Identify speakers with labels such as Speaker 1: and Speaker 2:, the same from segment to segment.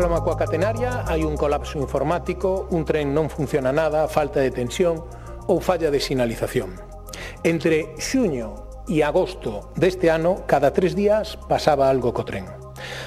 Speaker 1: Problema coa catenaria, hai un colapso informático, un tren non funciona nada, falta de tensión ou falla de sinalización. Entre xuño e agosto deste ano, cada 3 días pasaba algo co tren.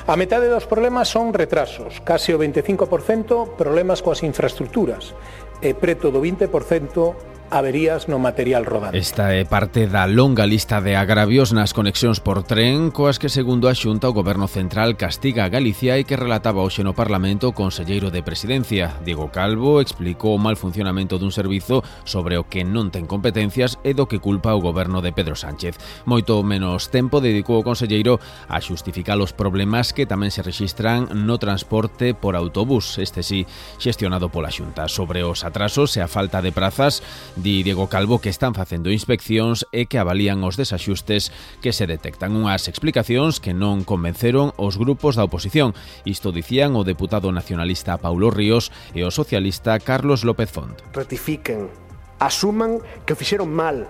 Speaker 1: A metade dos problemas son retrasos, case o 25% problemas coas infraestructuras e preto do 20% averías no material rodante.
Speaker 2: Esta é parte da longa lista de agravios nas conexións por tren coas que, segundo a Xunta, o Goberno Central castiga a Galicia e que relataba hoxe no Parlamento o conselleiro de Presidencia. Diego Calvo explicou o mal funcionamento dun servizo sobre o que non ten competencias e do que culpa o Goberno de Pedro Sánchez. Moito menos tempo dedicou o conselleiro a xustificar os problemas que tamén se rexistran no transporte por autobús, este sí, xestionado pola Xunta. Sobre os atrasos e a falta de prazas, di Diego Calvo que están facendo inspeccións e que avalían os desaxustes que se detectan. Unhas explicacións que non convenceron os grupos da oposición. Isto dicían o deputado nacionalista Paulo Ríos e o socialista Carlos López Font.
Speaker 3: Rectifiquen, asuman que o fixeron mal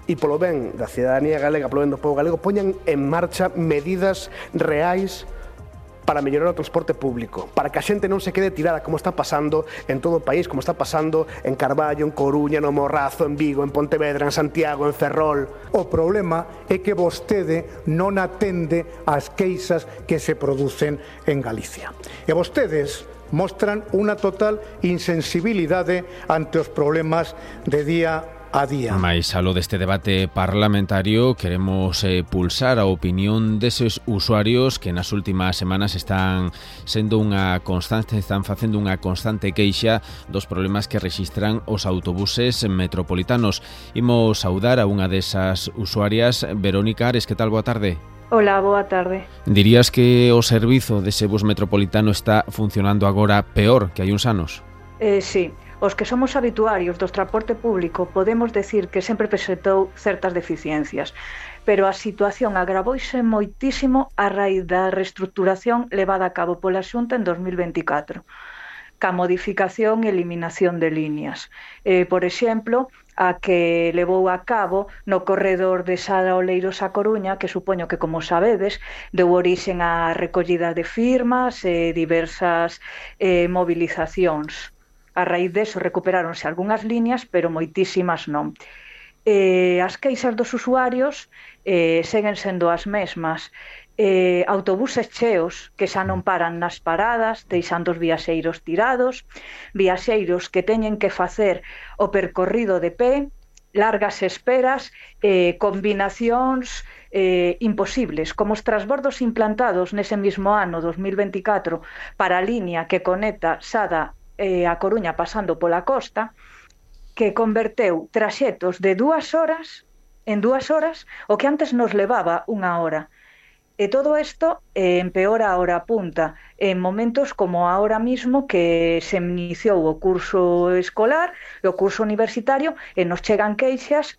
Speaker 3: e polo ben da cidadanía galega, polo ben do povo galego, poñan en marcha medidas reais para mellorar o transporte público, para que a xente non se quede tirada como está pasando en todo o país, como está pasando en Carballo, en Coruña, no Morrazo, en Vigo, en Pontevedra, en Santiago, en Ferrol.
Speaker 4: O problema é que vostede non atende ás queixas que se producen en Galicia. E vostedes mostran unha total insensibilidade ante os problemas de día a día.
Speaker 2: Mais alo deste debate parlamentario queremos pulsar a opinión deses usuarios que nas últimas semanas están facendo unha constante queixa dos problemas que rexistran os autobuses metropolitanos. Imos saudar a unha desas usuarias. Verónica Ares, que tal? Boa tarde.
Speaker 5: Hola, boa tarde.
Speaker 2: Dirías que o servizo dese bus metropolitano está funcionando agora peor que hai uns anos?
Speaker 5: Sí. Os que somos habituarios do transporte público podemos decir que sempre presentou certas deficiencias, pero a situación agravouse moitísimo a raíz da reestruturación levada a cabo pola Xunta en 2024, ca modificación e eliminación de líneas. Por exemplo, a que levou a cabo no corredor de Sada Oleiros a Coruña, que supoño que, como sabedes, deu orixen á recollida de firmas e diversas movilizacións. A raíz deso recuperáronse algunhas liñas, pero moitísimas non. As queixas dos usuarios seguen sendo as mesmas. Autobuses cheos que xa non paran nas paradas, deixando os viaxeiros tirados, viaxeiros que teñen que facer o percorrido de pé, largas esperas, combinacións imposibles, como os transbordos implantados nese mismo ano, 2024, para a liña que conecta Sada a Coruña pasando pola costa, que converteu traxetos de 2 horas en 2 horas o que antes nos levaba 1 hora. E todo isto empeora a hora punta en momentos como ahora mismo que se iniciou o curso escolar e o curso universitario e nos chegan queixas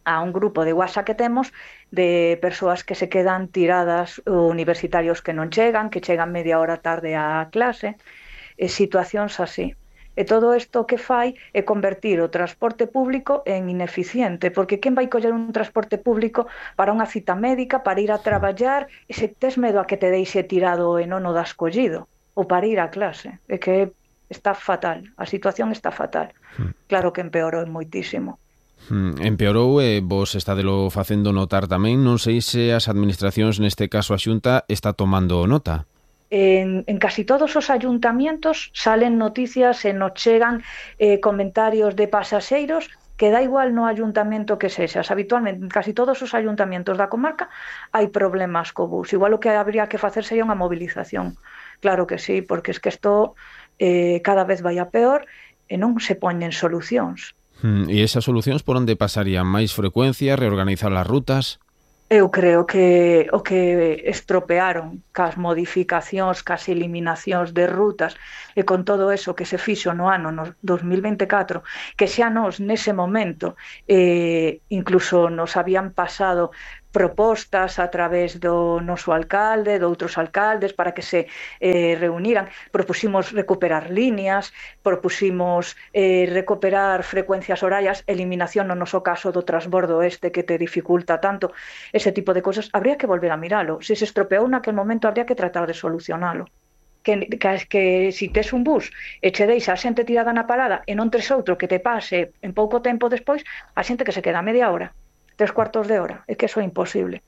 Speaker 5: a un grupo de WhatsApp que temos de persoas que se quedan tiradas, universitarios que non chegan, que chegan media hora tarde á clase, situacións así. E todo isto que fai é convertir o transporte público en ineficiente, porque quen vai coller un transporte público para unha cita médica, para ir a traballar, e se tes medo a que te deixe tirado e non o das collido, ou para ir á clase? É que está fatal, a situación está fatal. Claro que empeorou moitísimo.
Speaker 2: Empeorou e vos estádelo facendo notar tamén. Non sei se as administracións, neste caso a Xunta, está tomando nota.
Speaker 5: En casi todos os ayuntamientos salen noticias e nos chegan comentarios de pasaxeiros que dá igual no ayuntamento que sexas. Habitualmente, en casi todos os ayuntamientos da comarca hai problemas co bus. Igual o que habría que facer sería unha movilización. Claro que sí, porque es que isto cada vez vai a peor e non se poñen solucións.
Speaker 2: E esas solucións por onde pasarían? Máis frecuencia, reorganizar as rutas?
Speaker 5: Eu creo que o que estropearon cas modificacións, cas eliminacións de rutas e con todo eso que se fixo no ano 2024, que xa nos nese momento incluso nos habían pasado propostas a través do noso alcalde, de outros alcaldes, para que se reuniran. Propusimos recuperar líneas, propusimos recuperar frecuencias horarias, eliminación no noso caso do transbordo que te dificulta tanto. Ese tipo de cosas habría que volver a miralo. Se se estropeou naquel momento, habría que tratar de solucionalo. que si tes un bus e che deixa a xente tirada na parada e non tes outro que te pase en pouco tempo despois, a xente que se queda media hora, 3/4 de hora, é que eso é imposible.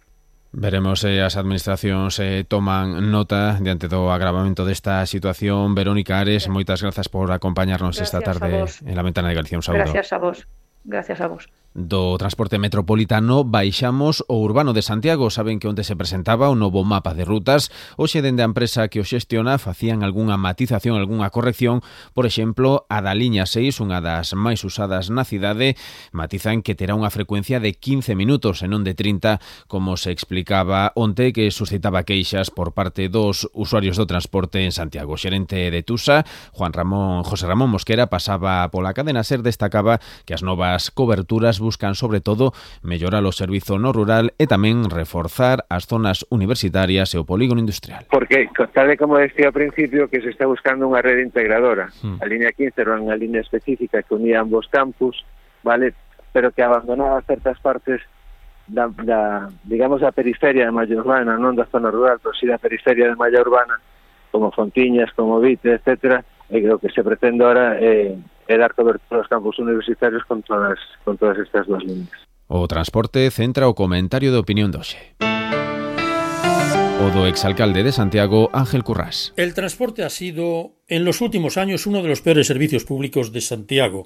Speaker 2: Veremos se as administracións toman nota diante do agravamento desta situación. Verónica Ares, moitas grazas por acompañarnos esta tarde en La Ventana de Galicia. Un saúdo.
Speaker 5: Gracias a vos. Gracias a vos.
Speaker 2: Do transporte metropolitano baixamos o urbano de Santiago. Saben que onde se presentaba o novo mapa de rutas, hoxe dende a empresa que o xestiona facían algunha matización, algunha corrección. Por exemplo, a da liña 6, unha das máis usadas na cidade, matizan que terá unha frecuencia de 15 minutos e non de 30, como se explicaba onte, que suscitaba queixas por parte dos usuarios do transporte en Santiago. O xerente de Tusa, José Ramón Mosquera, pasaba pola cadena SER, destacaba que as novas coberturas buscan sobre todo mellorar o servizo no rural e tamén reforzar as zonas universitarias e o polígono industrial.
Speaker 6: Porque, tal como decía ao principio, que se está buscando unha rede integradora. A línea 15 era unha línea específica que unía ambos campus, vale, pero que abandonaba certas partes digamos, da periferia de malla urbana, non da zona rural, pero si da periferia de malla urbana, como Fontiñas, como Vite, etcétera, e que o que se pretende ahora é dar cobertura aos campus universitarios con todas estas dos líneas.
Speaker 2: O transporte centra o comentario de opinión de hoxe. O do exalcalde de Santiago, Ángel Currás.
Speaker 7: El transporte ha sido, en los últimos años, uno de los peores servicios públicos de Santiago.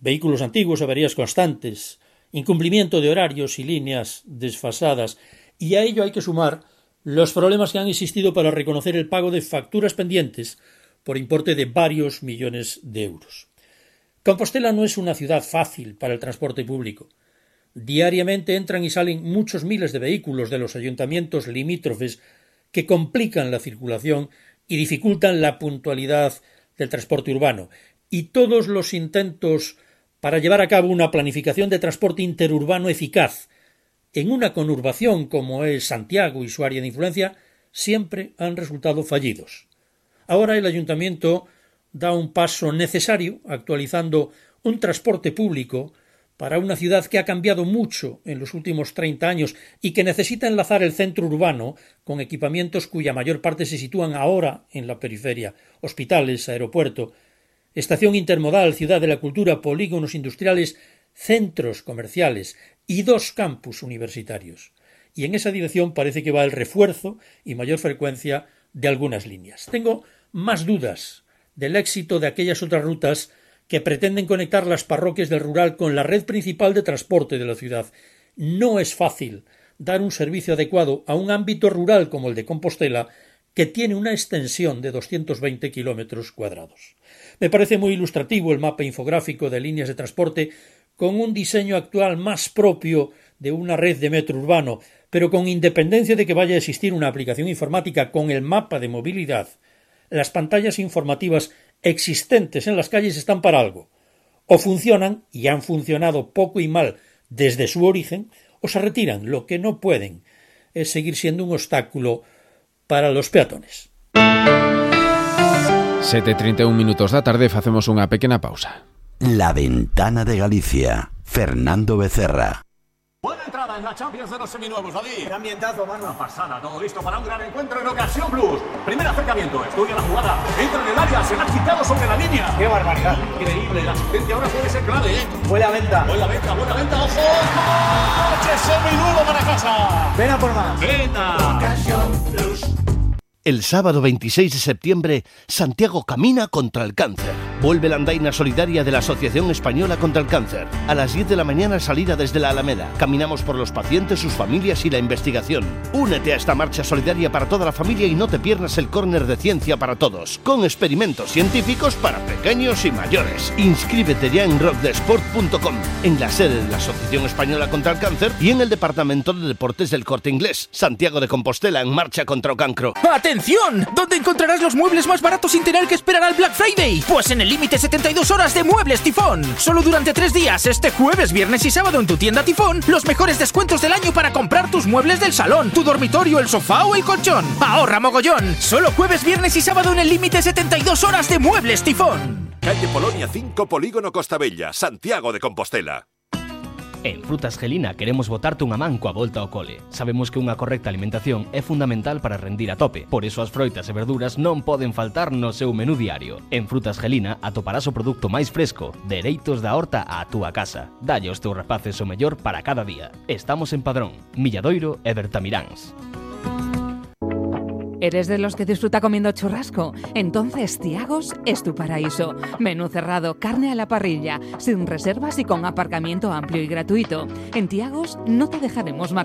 Speaker 7: Vehículos antiguos, averías constantes, incumplimiento de horarios y líneas desfasadas. Y a ello hay que sumar los problemas que han existido para reconocer el pago de facturas pendientes por importe de varios millones de euros. Compostela no es una ciudad fácil para el transporte público. Diariamente entran y salen muchos miles de vehículos de los ayuntamientos limítrofes que complican la circulación y dificultan la puntualidad del transporte urbano. Y todos los intentos para llevar a cabo una planificación de transporte interurbano eficaz en una conurbación como es Santiago y su área de influencia siempre han resultado fallidos. Ahora el ayuntamiento da un paso necesario actualizando un transporte público para una ciudad que ha cambiado mucho en los últimos 30 años y que necesita enlazar el centro urbano con equipamientos cuya mayor parte se sitúan ahora en la periferia: hospitales, aeropuerto, estación intermodal, ciudad de la cultura, polígonos industriales, centros comerciales y 2 campus universitarios. Y en esa dirección parece que va el refuerzo y mayor frecuencia de algunas líneas. Tengo más dudas del éxito de aquellas otras rutas que pretenden conectar las parroquias del rural con la red principal de transporte de la ciudad. No es fácil dar un servicio adecuado a un ámbito rural como el de Compostela, que tiene una extensión de 220 kilómetros cuadrados. Me parece muy ilustrativo el mapa infográfico de líneas de transporte con un diseño actual más propio de una red de metro urbano, pero con independencia de que vaya a existir una aplicación informática con el mapa de movilidad, las pantallas informativas existentes en las calles están para algo. O funcionan, y han funcionado poco y mal desde su origen, o se retiran. Lo que no pueden es seguir siendo un obstáculo para los peatones.
Speaker 2: 7:31 minutos da tarde, facemos unha pequena pausa.
Speaker 8: La Ventana de Galicia, Fernando Becerra.
Speaker 9: Buena entrada en la Champions de los seminuevos, David.
Speaker 10: Qué ambientazo, mano.
Speaker 9: Una pasada, todo listo para un gran encuentro en Ocasión Plus. Primer acercamiento, estudia la jugada, entra en el área, se la ha quitado sobre la línea.
Speaker 10: Qué barbaridad.
Speaker 9: Increíble, la asistencia ahora puede ser clave, ¿eh?
Speaker 10: Buena venta,
Speaker 9: ojo. ¡Coche seminuevo para casa!
Speaker 10: Ven a por más.
Speaker 9: Venga.
Speaker 10: Ocasión Plus.
Speaker 11: El sábado 26 de septiembre, Santiago camina contra el cáncer. Vuelve la andaina solidaria de la Asociación Española contra el Cáncer. A las 10 de la mañana, salida desde la Alameda. Caminamos por los pacientes, sus familias y la investigación. Únete a esta marcha solidaria para toda la familia y no te pierdas el córner de ciencia para todos, con experimentos científicos para pequeños y mayores. Inscríbete ya en rockdesport.com, en la sede de la Asociación Española contra el Cáncer y en el Departamento de Deportes del Corte Inglés. Santiago de Compostela en marcha contra o cancro.
Speaker 12: ¡Atención! ¿Dónde encontrarás los muebles más baratos sin tener que esperar al Black Friday? Pues en el límite 72 horas de Muebles Tifón. Solo durante 3 días, este jueves, viernes y sábado en tu tienda Tifón, los mejores descuentos del año para comprar tus muebles del salón, tu dormitorio, el sofá o el colchón. ¡Ahorra mogollón! Solo jueves, viernes y sábado en el límite 72 horas de Muebles Tifón.
Speaker 13: Calle Polonia 5, Polígono Costa Bella, Santiago de Compostela.
Speaker 10: En Frutas Gelina queremos botarte unha man coa volta ao cole. Sabemos que unha correcta alimentación é fundamental para rendir a tope, por iso as froitas e verduras non poden faltar no seu menú diario. En Frutas Gelina atoparás o produto máis fresco, dereitos da horta á túa casa. Dalle aos teus rapaces o mellor para cada día. Estamos en Padrón, Milladoiro e Bertamiráns.
Speaker 13: ¿Eres de los que disfruta comiendo churrasco? Entonces Tiagos es tu paraíso. Menú cerrado, carne a la parrilla, sin reservas y con aparcamiento amplio y gratuito. En Tiagos no te dejaremos